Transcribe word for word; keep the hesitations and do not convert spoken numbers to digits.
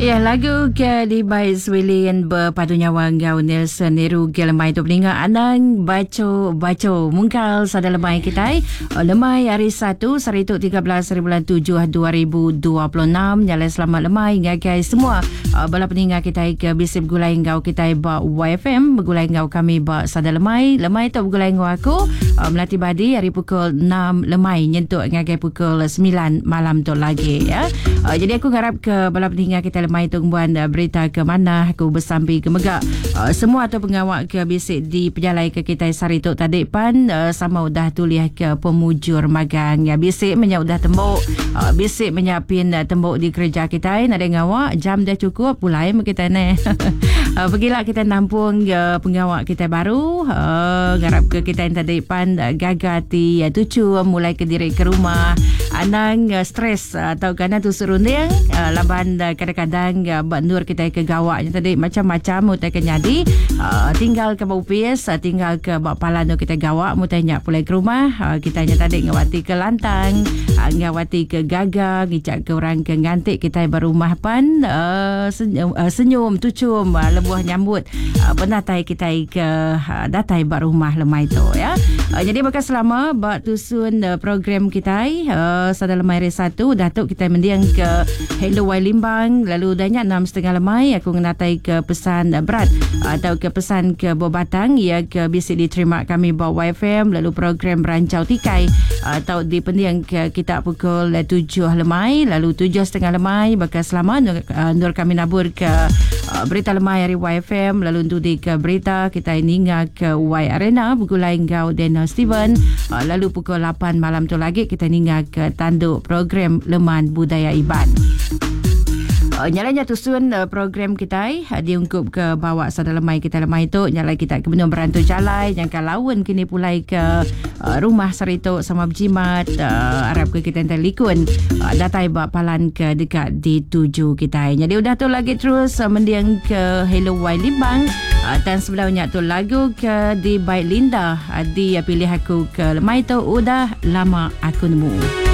Ya, lagu ke dibai Swilin berpadu nyawa enggau Nelson Niru ke lemai tu peninga anang baco-baco mungkal sada lemai kitai. Lemai hari Satu sehari tu tiga belas hari bulan tujuh dua ribu dua puluh enam. Nyalai selamat lemai ngagai semua uh, bala peninga kitai ke bisi begulai enggau kitai ba Y F M, begulai enggau kami ba sada lemai. Lemai tu begulai enggau aku uh, Melati Badi hari pukul enam lemai nyentuk ngagai pukul sembilan malam tu lagi ya. Uh, jadi aku ngarap ke bala peninga kitai lemai tu ngembuan berita ke mana aku bersampi ke mega uh, semua tu pengawak ke bisi di pejalai ke kitai sehari tu tadi pan uh, sama udah tulih ke pemujur magang ya, bisi menya udah tembok uh, bisi menyapin uh, tembok di kerja kitai nadai ngawak jam dah cukup pulai me kitai ne. uh, pergilah kita nampung uh, pengawak kitai baru uh, ngarap ke kitai tadi pan uh, gaga ti uh, tucu mulai ke diri ke rumah anang uh, stres uh, atau kerana tu serunding uh, laban uh, kadang-kadang dan uh, buat nur kita ke gawaknya tadi macam-macam utai ke nyadi uh, tinggal ke bupis uh, tinggal ke bak palan tu kita gawak mutai nyak pulai ke rumah uh, kita nya tadi ngawati ke lantang uh, ngawati ke gaga ngicak ke orang ke ngantik kita berumah pan uh, senyum, uh, senyum tucum uh, lebuh nyambut uh, penatai kita ke uh, datai bak rumah lemai tu ya. Uh, jadi bakal selama bak tusun uh, program kita uh, sada lemai hari Satu datuk kita mendiang ke Hello Y Limbang lalu udahnya enam setengah lemai aku ngenatai ke pesan berat atau ke pesan ke Bobatang ia ke bisi diterima kami ba Y F M lalu program Rancau Tikai atau di pendiang ke kita pukul tujuh lemai lalu tujuh setengah lemai bakal selama nur, nur kami nabur ke berita lemai hari Y F M lalu untuk di ke berita kita ninga ke Y Arena bergulai enggau Daniel Steven lalu pukul lapan malam tu lagi kita ninga ke tanduk program Leman Budaya Iban. Uh, nyalanya tusun uh, program kita uh, diungkup ke bawa sada lemai kita lemai tu nyalai kita ke benung berantu jalai jangka laun kini pulai ke uh, rumah serito sama berjimat uh, harap ke kita entar likun uh, datai bak palan ke dekat dituju kita. Jadi udah tu lagi terus uh, mendiang ke Hello Y Limbang uh, dan sebelumnya tu lagu ke di Baik Linda uh, di uh, pilih aku ke lemai tu udah lama aku nemu.